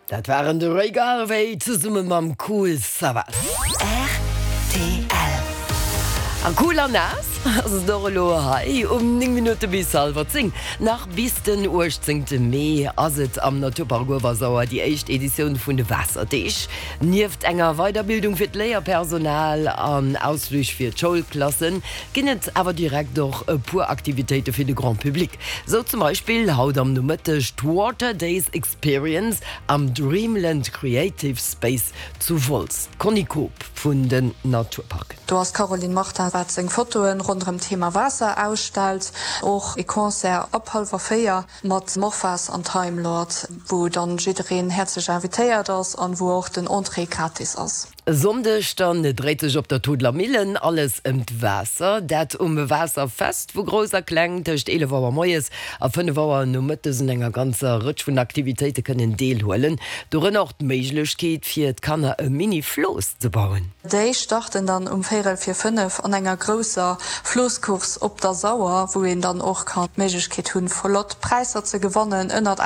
Dat waren de Ray Garvey zesumme mam Kool Savas. Rtl. A cool an naass ass et och elo hei um 9 Minutte bis hallwer 10. Nach bis den 18 Mee ass et am Naturpark Uewersauer déi éischt Editioun vun de Waasserdeeg. Nieft enger Weiderbildung fir d'Léierpersonal an Ausflich fir d'Schoulklassen ginn et awer direkt och e puer Aktivitéite fir de Grand Public. Sou zum Beispill haut am Nomëtteg d'Water Days Experience am Dreamland Creative Space zu Wolz. D'Conny Koob vun den Naturparken. Do ass d'Caroline Martin wat seng Fotoen ronderëm d'Thema Waasser ausstellt. Och ee Concert ab hallwer 4 mat Morphas an Time Lord, wou dann jiddereen häerzlech invitéiert ass an wou och den Entrée gratis ass. E Sonndeg dann dréit sech op der Todeler Millen alles ëm d'Waasser. Dat um Waasserfest, wou Grouss a Kleng tëscht 11 Auer moies a 5 Auer nomëttes un enger ganzer Rëtsch vun Aktivitéite kënnen deelhuelen. Dorënner och d'Méiglechkeet fir d'Kanner e Mini-Flooss ze bauen. Déi starten dann um véirel vir 5 an enger grousser Floosscourse op der Sauer, wou een dann och kann d'Méiglechkeet hunn, flott Präisser ze gewannen, ënnert.